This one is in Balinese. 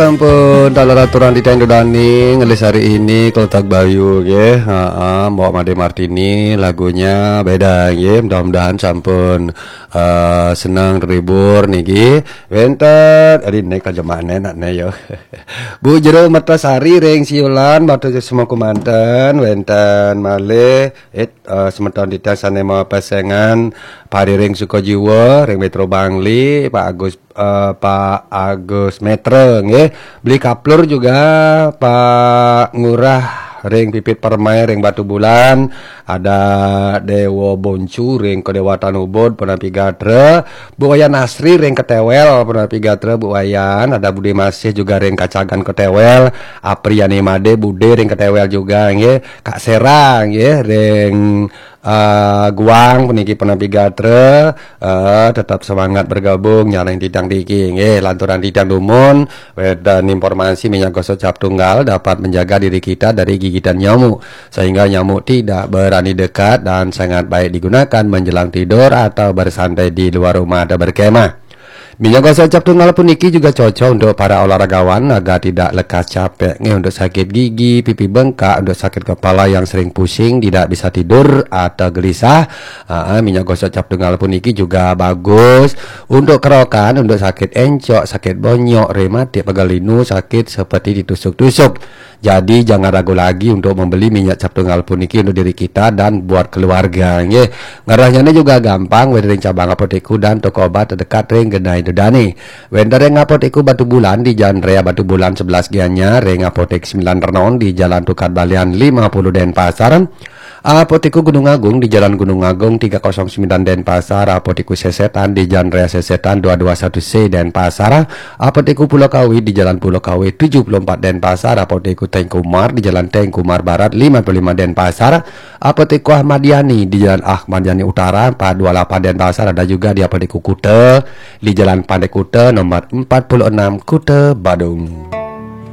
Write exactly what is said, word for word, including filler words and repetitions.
Sampun taler aturang titiang Ida dané ngelis hari ini Keletak Bayu nggih. Heeh, Mbok Made Martini, lagunya beda nggih. Mudah-mudahan sampun eh, seneng terhibur niki. Wénten, adi nek aja makne nak ne ya. Bu Jero Mertasari ring Siulan, matur suksma kumanten, wénten malih eh, eh, semeton titiang sané mapesengan pariring suka jiwa ring Metro Bangli, Pak Agus eh, Pak Agus Metre nggih. Beli Kaplur juga Pak Ngurah ring Pipit Permai ring Batu Bulan, ada Dewa Boncu ring Kedewatan Ubud Penapi Gatra, Bu Wayan Asri ring Ketewel Penapi Gatra, Bu Wayan, ada Bude Masih juga ring Kacagan Ketewel, Apriani Made Bude ring Ketewel juga nggih, Kak Sera nggih ring eh, Guang puniki Penapi Gatra, eh, tetap semangat bergabung nyareng titiang niki nggih, lanturang titiang dumun wénten informasi minyak gosok cap tunggal dapat menjaga diri kita dari gigitan nyamuk sehingga nyamuk tidak berani dekat dan sangat baik digunakan menjelang tidur atau bersantai di luar rumah atau berkemah. Minyak gosok cap tunggal puniki juga cocok untuk para olahragawan agar tidak lekas capek nggih, untuk sakit gigi, pipi bengkak, untuk sakit kepala yang sering pusing, tidak bisa tidur atau gelisah. Ah, minyak gosok cap tunggal puniki juga bagus untuk kerokan, untuk sakit encok, sakit bonyok, rematik, pegal linu, sakit seperti ditusuk-tusuk. Jadi jangan ragu lagi untuk membeli minyak cap tunggal puniki untuk diri kita dan buat keluarga nggih. Ngerahnya ini juga gampang, wénten ring cabang apotek dan toko obat terdekat ring genah Ida dané. Wénten ring Apotek Batu Bulan di Jalan Raya Batu Bulan sebelas Gianyar, ring Apotek Sembilan Renon di Jalan Tukad Balian lima puluh Denpasar. Apotek Gunung Agung di Jalan Gunung Agung tiga kosong sembilan Denpasar, Apotek Sesetan di Jalan Raya Sesetan dua dua satu C Denpasar, Apotek Pulau Kawi di Jalan Pulau Kawi tujuh puluh empat Denpasar, Apotek Tengku Umar di Jalan Tengku Umar Barat lima puluh lima Denpasar, Apotek Ahmad Yani di Jalan Ahmad Yani Utara empat dua lapan Denpasar, ada juga di Apotek Kuta di Jalan Pantai Kuta nomor empat puluh enam Kuta Badung.